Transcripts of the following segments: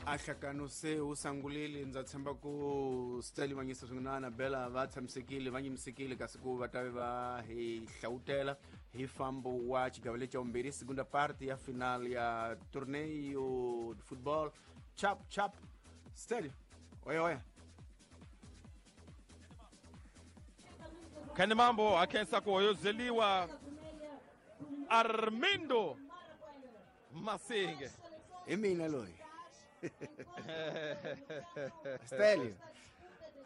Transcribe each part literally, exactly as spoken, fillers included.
Ahlakano se wu sangulile ndza tshemba ku Stanley Manyisa swin'we na Annabella va tshamisekile va nyimisekile kasi ku va ta va hi hlawutela hi fambo wa xigava lexi xa vumbirhi segunda parte ya final ya torneio de football chap chap Stanley oya oya Kani mambo akhensa ku hoyozeliwa Armindo Masinge hi mina loyi Stanley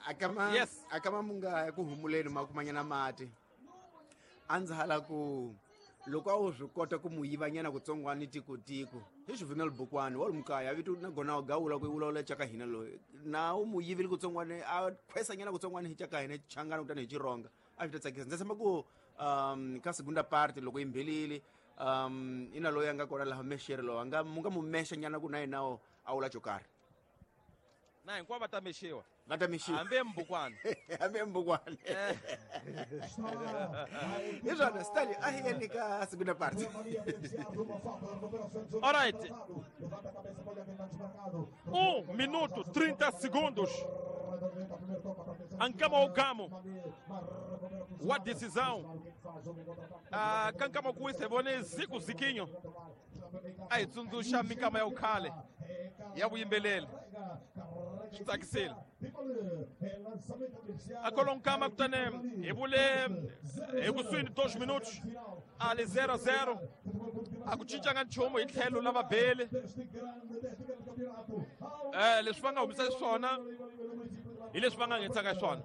akama Yes. akama munga ya ku humuleni makumanyana mati a ndzi hala ku loko a wu swi kota ku mu yivanyana kutsongwani tikotiko hi Juvenal Bukwani wa lumukaya vito na gona u gawula ku vulavula caka hina loyi na u mu yivile kutsongwani a khwesanyana kutsongwani hi caka hina changana kutani hi chironga a swi ta tsakisa ndzi tshemba ku um ka segunda parte loko yi mbhelile um ina loyi a nga kona laha mexere loyi a nga mu nga mu mexa nyana ku na yena a wula xo karhi na hinkwavo va ta mexiwa va ta mexiwa hambi embukwana hambi embukwana hi swona Stanley a hi yeni ka segunda parte. All right. Um minuto trinta segundos. Ankama Ogamo wa decisão. Ah, kankama kuise vone Zico Ziquinho. A hi tsundzuxa minkama ya vukhale ya vuyimbeleri swi tsakisile a kolonkama kutani hi vule hi kusuhi dos minutos a li zero zero a ku cincanga nchumu hi tlhelo la vabeli eh leswi va nga humisa xiswona hi leswi va nga nghenisaka xiswona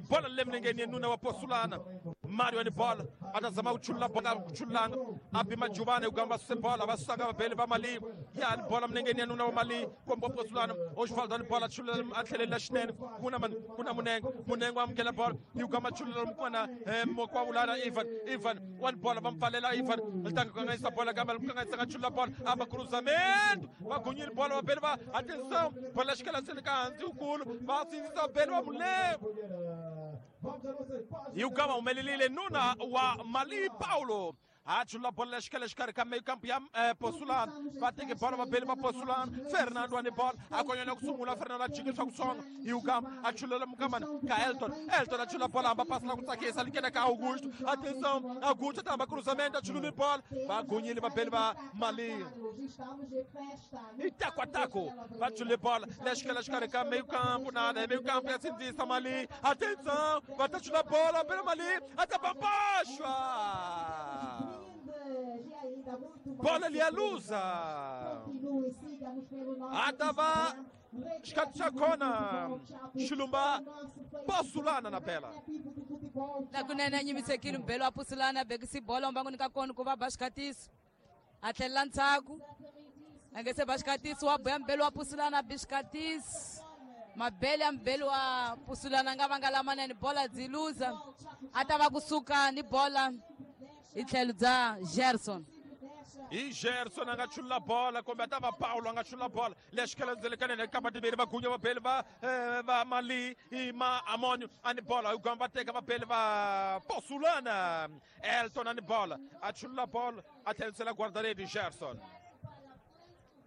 bola le milengeni ya nuna wa Posulana Mario ni bola a ta zama ku chulula bola ku chululanga a bima Jubane ku gamba suse bola va susaka vabeli va Mali ya ni bola milengeni ya nuna wa Mali komba Posulana Osvaldo ni bola chulula a tlhelela xinene kuna man kuna Munengo Munengo amukela bola yi gamba chulula mukwana mokwavulana Ivan Ivan wa ni bola va mpfalela Ivan ri kanganyisa bola kambe kanganyisa nga chulula bola a va cruzamento va gunyile bola vabeli va atenção bola xikela sele ka hansi wukulu va sindzisa vabeli va Mulengo Yugama humelelile nuna wa Mali Paulo a chula bola xikela xikarhi ka mekampu ya eh, Posulana va teke bola vabeli va Posulana Fernando ani bola a konyana ku sungula Fernando a jikisa ku tsonga Yugama a chulela mukamana ka Elton Elton a chula bola hamba pasi la ku tsakisa likena ka Augusto atenção Augusto a tamba cruzamento a chulule bola va gunyile vabeli va Mali i taco a taco va chule bola lexikela xikarhi ka meio campo nada meio campo ya sindzisa Mali atenção va ta chula bola vabeli Mali a ta babaxwa bola ali a luza atava xikatshakona xilumba Posulana na bela la kunene nyimisekile mbelo wa Posulana bekisi bola mbangoni ka kona ku va ba xikatiso a tlhelela ndzhaku a nge se ba xikatiso wa boya mbelo wa Posulana bi xikatiso mabele ya mbelo wa Posulana nga vanga lamanene bola dzi luza a ta va kusuka ni bola hi tlhelo bya Gerson hi Gerson a nga chulula bola kumbe a ta va Paulo a nga chulula bola lexikela ndzelekanene kamba timbirhi va gunya vabeli va va Mali i ma Amonio a ni bola hi gamba teka vabeli va Posulana Elton a ni bola a chulula bola a tlherisela guarda-redes Gerson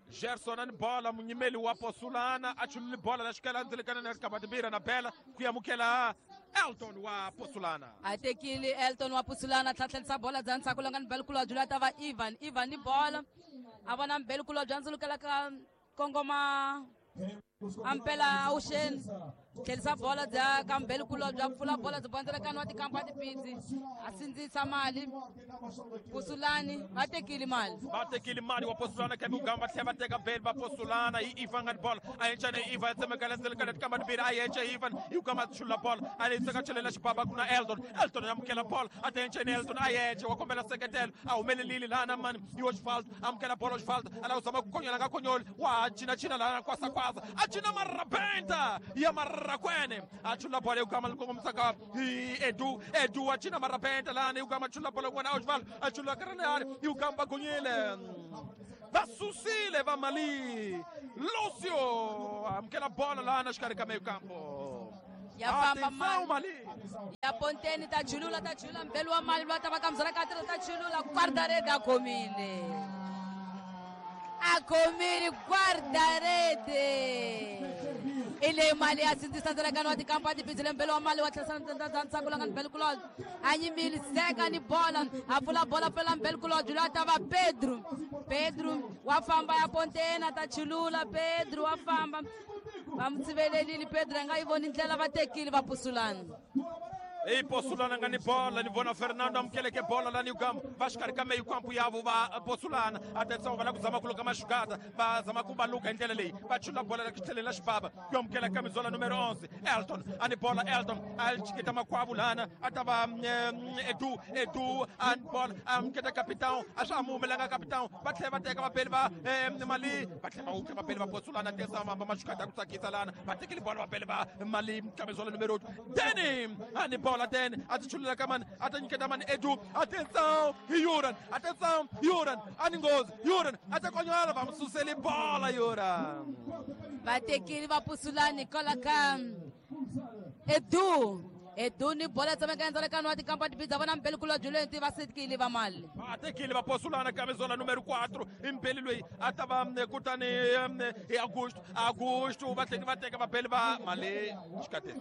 Gerson a ni bola munyimeli wa Posulana a chulule bola lexikela ndzelekanene kamba timbirhi na bela ku amukela Elton wa Posulana a tekile Elton wa Posulana tlhatlhelisa bola bya ndzhaku longa ni belukulu byi ta va Ivan Ivan ni bola a vona mbelukulu bya ndzulukela ka kongoma ampela awuxeni tlhelisa bola bya ka mbelukulu bya pfula bola byi bandzelekani wa tikampa tipitsi a sindzisa mali Posulani va tekile mali va tekile mali wa Posulana kambe ugamba tlhela va teka beli va Posulana hi Ivan nga ni bola a yenca ni Ivan tsemekela ndzelekanene tikamba timbirhi a yenca Ivan yi ugamba chulula bola a leyi tseka chelela xibaba ku na Elton Elton ya amukela bola a ta yenca ni Elton a yenca wa kombela seketelo a humelelile lana mani yi Osvaldo amukela bola Osvaldo a lava ku zama ku konyola nga konyoli wa cinacina lana kwasakwasa a cina marabenta ya marrakwene a chula bola yugama likongomisa hi Edu Edu a cina marabenta lana yugama chula bola n'wana Osvaldo a chula karanani yugamba gunyile va susile va Mali Lucio amukela bola lana xikarhi ka meio campo ya famba mali mali ya ponteni ta chulula ta chulula mbelo wa Mali va ta va ka mzala ka ta chulula guarda-redes a khomile A khomile guarda-rede. I leyi mali ya sindzisa ndzalakano wa tikampa tipizile mbele wa mali wa tlherisa ntsako la nga ni mbele kulobye a nyimile seka ni bola a pfula bola pfela mbele kulobye loyi a ta va Pedro. Pedro wa famba ya ponteni a ta chulula. Pedro wa famba va mu tshivelelile Pedro a nga yi voni ndlela va tekile va pusulana. Ei Posulana nga ni bola ni vona Fernando amukeleke bola la ni ugamba va xikarhi ka meyi kampu yavo va Posulana. Atenção va lava ku zama ku luka maxugata va zama ku va luka hi ndlela leyi va chula bola la tlheleni la xibaba ku amukela kamizola numero onze Elton a ni bola Elton a chiketa makwavu lana a ta va Edu Edu a ni bola a amuketa capitão a swa ha mu humelanga capitão va tlhela va teka vapeli va Mali va tlhela va wukha vapeli va Posulana. Atenção va maxugata ku tsakisa lana va tekile bola vapeli va Mali kamizola numero Danny a ni bola ten a ti chulula ka mani a ta nyiketa mani Edu. Atenção Yuran, atenção Yuran, a ni nghozi Yuran a ta konyala va mu suseli bola Yuran. Va tekile va pusulani kwala ka Edu. Edu ni bola tsemeka ndzalakano wa tikampa tipidza vona mbele kulobye loyi nti va sekile va mali. Va tekile va Posulana kamizola numero quatro imbeli loyi a ta va kutani hi Augusto. Augusto va tlhela va teka vapeli va Mali xikatisi.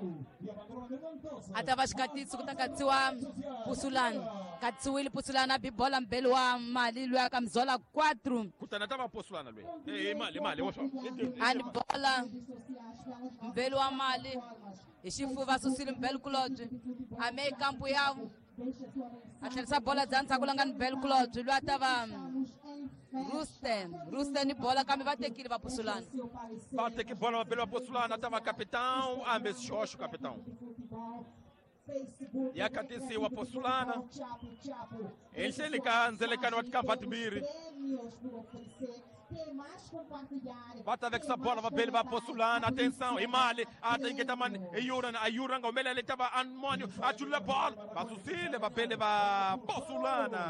A ta va xikatisi ku ta katsiwa Pusulana. Katsiwile Pusulana bi bola mbele wa Mali loyi a kamizola quatro. Kutani a ta va Posulana loyi. Eh Mali Mali wa swa. A ni bola mbele wa Mali. Hi xifuva susile mbele kulobye a me kampu ya a tlherisa bola bya ndzhaku la nga ni mbele kulobye loyi a ta va Rusten. Rusten ni bola kambe va tekile va Posulana. Va teki bola vapeli va Posulana a ta va capitão ambe xihoxo capitão. Ya katisiwa Posulana ehenhleni ka ndzelekano wa tikampa timbirhi. Va ta vekisa bola vapeli va Posulana. Atenção hi Mali a ta nyiketa mani hi Yuran a Yuran nga humelela ta va Anmonio a chulula bola va susile vapeli va Posulana.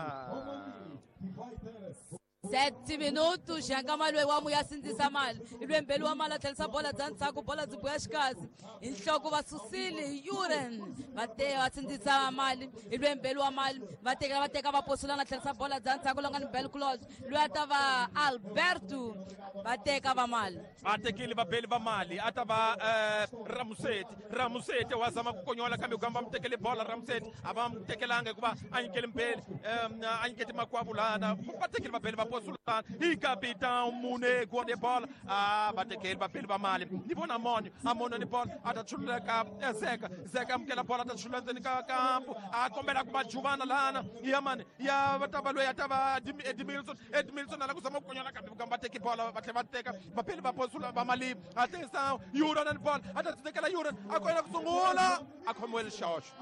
Sete minutos xanga loyi wa muya sindzisa mali i lwe mbeli wa mali a tlherisa bola bya ndzhaku bola byi boya xikazi hi nhloko va susile hi Yuran va te va sindzisa mali i lwe mbeli wa mali va tekela va teka va Posulana tlherisa bola bya ndzhaku la nga ni mbeli kulobye loyi a ta va Alberto va teka va mali. Va tekile vapeli va Mali a ta va Ramuseti. Ramuseti wa zama ku konyola kambe ku va mu tekele bola Ramuseti a va mu tekelanga hikuva a nyikele mbeli a nyikete makwavu lana va tekile vapeli va Posulana hi capitão Munego de bola a va tekele vapeli va Mali ni vona Monyo a Monyo ni bola a ta chulula ka Zeka. Zeka amukela bola a ta chulula ndzeni ka kampu a kombela ku va juvana lana ya mani ya va ta va loyi a ta va Edmilson. Edmilson a la ku zama ku konyola kambe ku va teki bola va tlhela va teka vapeli va Posulana va Mali. Atenção Yuran ni bola a ta tekela Yuran a koyela ku sungula a khomiwile xihoxo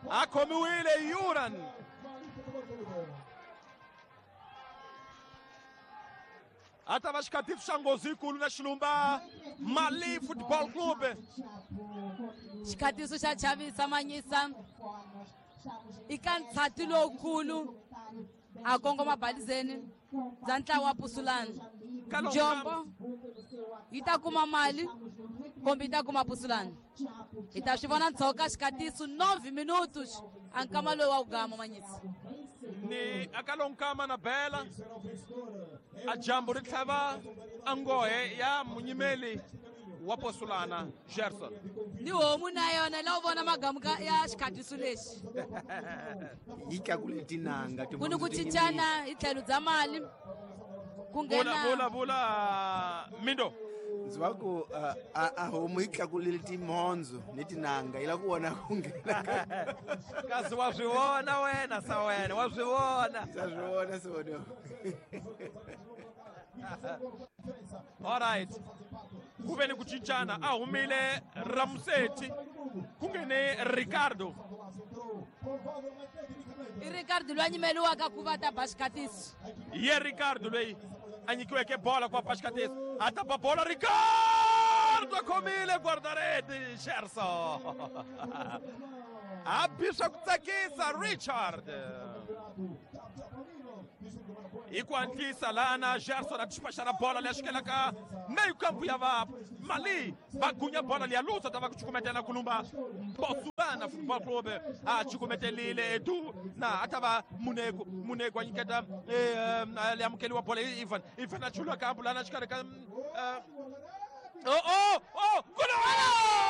a khomiwile Yuran. A ta va xikatiso xa nghozi yikulu na Xilumba Mali Football Club. Xikatiso xa chavisa manyisa i ka ntshati lowukulu a kongoma balizeni bya ntlawa wa Pusulana. Njombo yi ta kuma mali kumbe yi ta kuma Pusulana. Hi ta swi vona ndzhaku ka xikatiso nove minutos a nkama lowu wa ku gama manyisa. Ni akalonkama na bela a jambo ri tlhava a nghohe ya munyimeli wa Posulana Gerson. Ni homu na yona la u vona magamu ya xikhatiso lexi. Yi tlakule tinanga ku ni ku cincana hi tlhelo bya mali ku nghena vula vula Mindo. Ndzi va ku a a homu yi tlakulile timhondzo ni tinanga yi lava ku vona ku nghena kasi wa swi vona wena sa wena wa swi vona. Ndza swi vona sona. All right ku ve ni ku cincana a humile Ramuseti ku nghene Ricardo. I Ricardo loyi a nyimeliwaka ku va ta ba xikatiso. Ye Ricardo loyi a nyikiweke bola ku va ba xikatiso a ta ba bola Ricardo a khomile guarda-rede Gerson. A bi swa ku tsakisa Richard. Hi ku hatlisa lana Gerson a dispachara bola leyi xikela ka meio campo ya va Mali va gunya bola leya lusa ta va ku cukumetela kulumba Botswana Football Club a cukumetelile Edu na a ta va Muneko Muneko a nyiketa eh, leyi amukeliwa bola hi Ivan Ivan a chulwa kambu lana xikarhi ka eh, oh oh